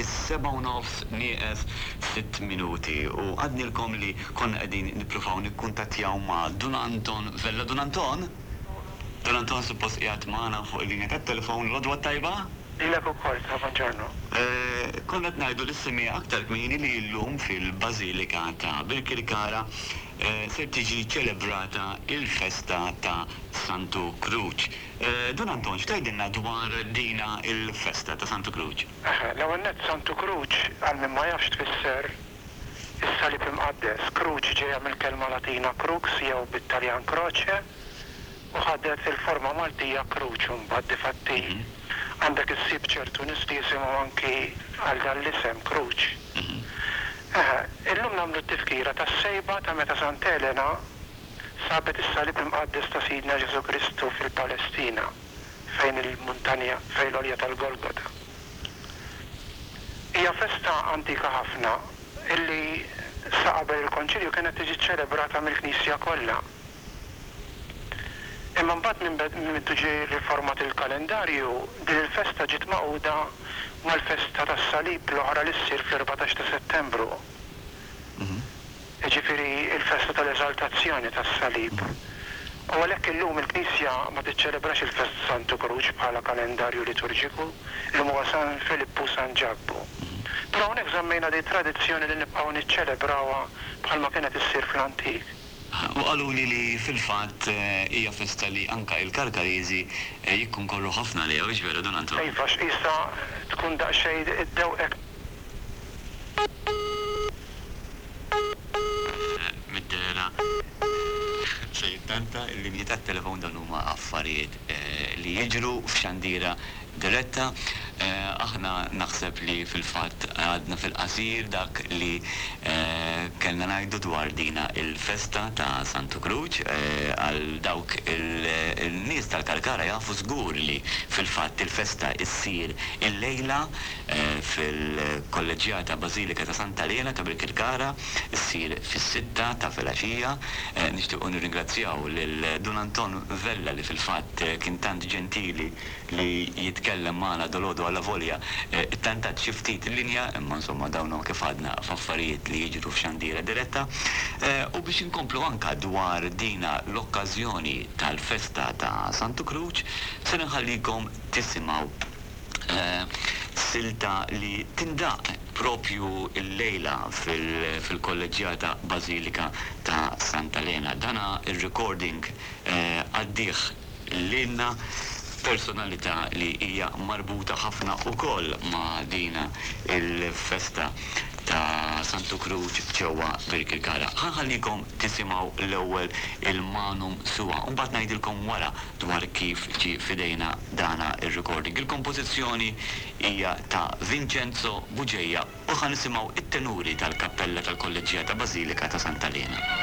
Is-sebgħa u nofs nieqes sitt minuti u għadnilkom li konna qegħdin nippruvaw nikkuntattjaw ma' Dun Anton Vella. Dun Anton? Dun Anton suppost qiegħed magħna fuq il-linja tat-telefon. L-għodwa t-tajba? Lilek ukoll, ta' bonġornu. Konna qed ngħidu lis-semmiegħa aktar kmieni li llum fil-Bażilika ta' Birkirkara ser tiġi ċelebrata l-festa ta' Santu Kruċ. Dun Anton, x'tgħidilna dwar dina l-festa ta' Santu Kruċ? Eħe, l-ewwel nett Santu Kruċ, għal min ma jafx tfisser is-Salib Imqaddes. Kruċ ġejja mill-kelma Latina crux jew bit-Taljan croce u ħadet il-forma Maltija kruċ imbagħad difatti għandek issib ċertu nies li jisimhom anki għal dan l-isem, Kruċ. Eħe, illum nagħmlu t-tifkira tas-sejba ta' meta Sant'Elena sabet is-Salib Imqaddes ta' Sidna Ġesù Kristu fil-Palestina, fejn il-muntanja, fejn l-għolja tal-Golgota. Hija festa antika ħafna illi sa qabel il-Konċilju kienet tiġi ċċelebrata mill-Knisja kollha. Imma mbagħad minn minn ġie riformat il-kalendarju, din il-festa ġiet magħquda mal-festa tas-Salib l-oħra li ssir fl-14 ta' Settembru. Jiġifieri l-festa tal-Eżaltazzjoni tas-Salib. U għalhekk illum il-Knisja ma tiċċelebrax il-festa ta' Santu Kruċ bħala kalendarju liturġiku, illum huwa San Filippu u San Ġakbu. Però hawnhekk żammejna din it-tradizzjoni li nibqgħu niċċelebrawha bħalma kienet issir fl-antik. U qaluli li fil-fatt hija festa li anka il-Karkariżi jikkonkorru ħafna għaliha, hux veru Dun Anton? Iva, x'qisha tkun daqsxejn iddewqek. Mid-dehra se jittanta l-linji tat-telefon dawn huma affarijiet li jiġru f'xandira diretta. Aħna naħseb li fil-fatt għadna fil-qasir dak li kellna ngħidu dwar dina il-festa ta' Santu Kruċ. Għal dawk il-nies tal-Kalkara jafu żgur li fil-fatt il-festa ssir illejla fil-Kolleġġjata Bażilika ta' Santa Lena ta' Birkirkara, ssir fis-sitta ta' filgħaxija. Nixtiequ nirringrazzjaw lil Dun Anton Vella li fil-fatt kien tant ġentili li jitkellem magħna dalgħodu allavolja ttantat xi ftit il-linja imma insomma dawn huma kif għadna f'affarijiet li jiġru f'xandira diretta. U biex inkomplu anka dwar dina l-okkażjoni tal-festa ta' Santu Kruċ ser inħallikom tisimgħu silta li tindaqq propju llejla fil-Kolleġġjata Bażilika ta' Santa Lena. Dana r-recording għaddih lilna personalità li hija marbuta ħafna wkoll ma' din il-festa ta' Santu Kruċ ġewwa Birkirkara. Ħa nħallikom tisimgħu l-ewwel il-Manum Sua u mbagħad ngħidilkom wara dwar kif ġie f'idejna dana r-recording. Il-kompożizzjoni hija ta' Vincenzo Bugeja u ħa nisimgħu t-tenuri tal-Kappella tal-Kolleġġjata Bażilika ta' Santa Lena.